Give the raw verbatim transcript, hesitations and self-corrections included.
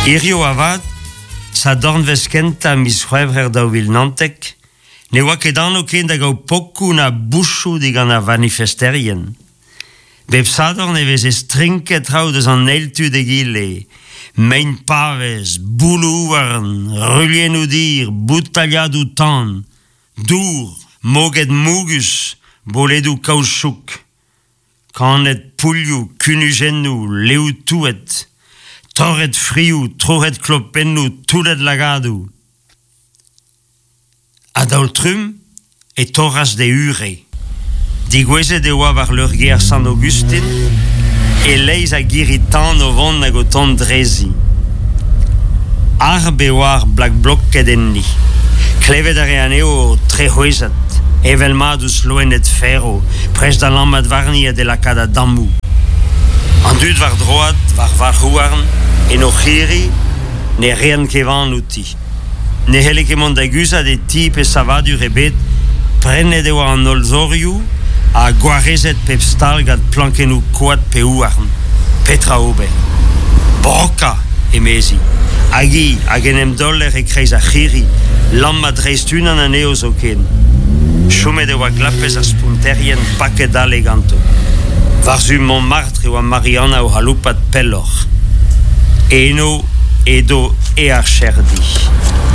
Hirio avat, sadornvezh kentañ miz C'hwevrer daou vil naontek, ne oa ket anv ken da gaout pokoù na bouchoù digant ar vanifesterien. Bep sadorn e veze strinket traoù deus an eil tu d'egile. Mein pavez, bouloù houarn, ruilhennoù dir, boutailhadoù tan, dour, moged mougus, boledoù kaoutchouk. Kannet pouilhoù, kunujennoù, leoù touet, torret frioù, troc'het klopennoù, toullet lagadoù. A-daol-trumm e torras d'e ure. Degouezhet e oa war leurgêr Sant-Aogustin, e-leizh a girri-tan o vont hag o tont drezi. Arb e oa ar Black Blocked enni. Klevet a rae anezho o trec'hwezhat, evel mat ouzh loened ferv, prest da lammat warni ha d'he lakaat a-dammoù. An dud war droad, war varc'h-houarn, en o c'hirri, ne reent ket van outi. Ne c'helle ket mont da guzhat e ti pe savadur ebet, prennet e oa an holl zorioù ha gwarezet pep stal gant plankennoù koad pe houarn. Petra ober? Brokañ, emezi. Hag hi, hag en em daoler e-kreiz ar c'hirri, lammat dreist unan anezho zoken. Chomet e oa glapez ar sponterien paket dale ganto. War-zu Montmartre e oa Marianna o c'haloupat pelloc'h. Eno edo e archerdi.